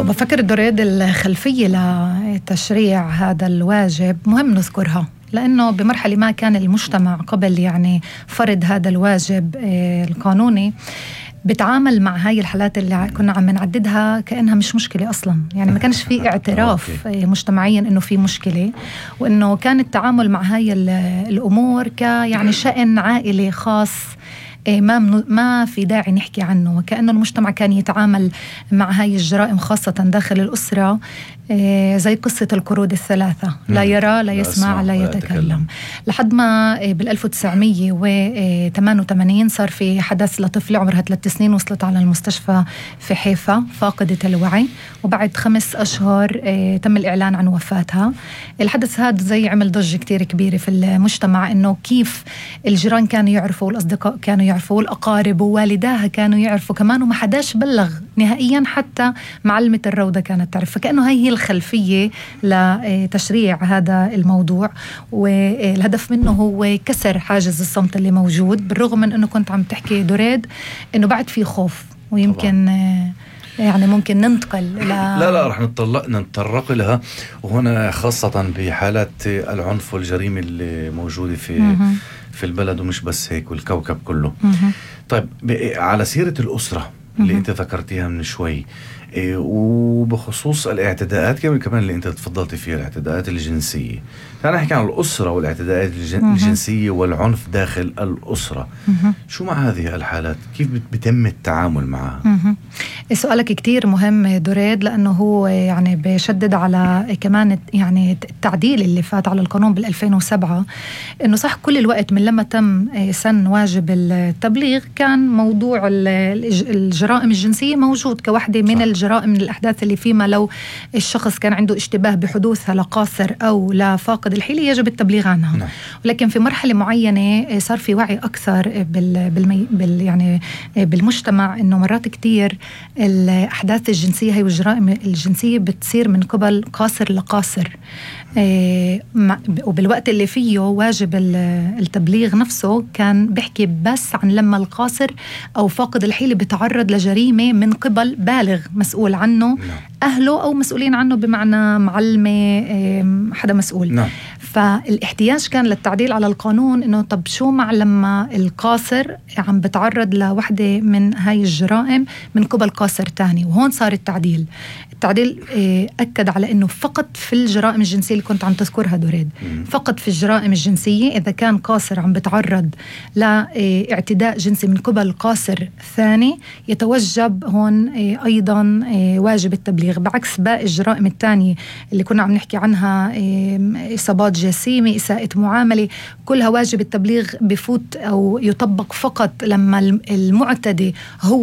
بفكر دريد الخلفية لتشريع هذا الواجب مهم نذكرها، لأنه بمرحلة ما كان المجتمع قبل يعني فرض هذا الواجب القانوني بتعامل مع هاي الحالات اللي كنا عم نعددها كأنها مش مشكلة أصلا. يعني ما كانش في اعتراف مجتمعيا إنه في مشكلة، وإنه كان التعامل مع هاي الأمور يعني شأن عائلي خاص ما في داعي نحكي عنه، وكأنه المجتمع كان يتعامل مع هاي الجرائم خاصة داخل الأسرة زي قصة القرود الثلاثة، لا يرى لا يسمع لا يتكلم. لحد ما بال1988 صار في حدث لطفلة عمرها 3 سنين وصلت على المستشفى في حيفا فاقدة الوعي، وبعد 5 أشهر تم الإعلان عن وفاتها. الحدث هذا زي عمل ضجة كتير كبيرة في المجتمع، إنه كيف الجيران كانوا يعرفوا والأصدقاء كانوا يعرفوا والأقارب ووالداها كانوا يعرفوا كمان، وما حداش بلغ نهائيا، حتى معلمة الروضة كانت تعرف. فكأنه هي الخلفية لتشريع هذا الموضوع، والهدف منه هو كسر حاجز الصمت اللي موجود، بالرغم من أنه كنت عم تحكي دريد أنه بعد في خوف، ويمكن يعني ممكن ننتقل لا رح نتطرق لها، وهنا خاصة بحالات العنف والجريمة اللي موجودة في البلد، ومش بس هيك والكوكب كله. طيب على سيرة الأسرة اللي انت ذكرتيها من شوي، وبخصوص الاعتداءات كمان اللي انت تفضلتي فيها، الاعتداءات الجنسية، تعال نحكي عن الأسرة والاعتداءات الجنسية والعنف داخل الأسرة. شو مع هذه الحالات؟ كيف بيتم التعامل معها؟ سؤالك كتير مهم دريد، لأنه هو يعني بيشدد على كمان يعني التعديل اللي فات على القانون بال2007. إنه صح كل الوقت من لما تم سن واجب التبليغ كان موضوع الجرائم الجنسية موجود كواحدة من الجرائم، من الأحداث اللي فيما لو الشخص كان عنده اشتباه بحدوثها لقاصر أو لفاقد الحيلة يجب التبليغ عنها. ولكن في مرحلة معينة صار في وعي أكثر يعني بالمجتمع، إنه مرات كتير الأحداث الجنسية هي والجرائم الجنسية بتصير من قبل قاصر لقاصر، وبالوقت اللي فيه واجب التبليغ نفسه كان بيحكي بس عن لما القاصر أو فاقد الحيلة بيتعرض لجريمة من قبل بالغ مسؤول عنه، أهله أو مسؤولين عنه بمعنى معلمة، حدا مسؤول. فالاحتياج كان للتعديل على القانون، إنه طب شو مع لما القاصر عم بتعرض لوحدة من هاي الجرائم من قبل قاصر تاني. وهون صار التعديل أكد على إنه فقط في الجرائم الجنسية اللي كنت عم تذكرها دريد، فقط في الجرائم الجنسية إذا كان قاصر عم بتعرض لاعتداء جنسي من قبل قاصر ثاني يتوجب هون أيضا واجب التبليغ، بعكس باقي الجرائم الثانية اللي كنا عم نحكي عنها، إصابات جسيمة، إساءة معاملة، كلها واجب التبليغ بفوت أو يطبق فقط لما المعتدي هو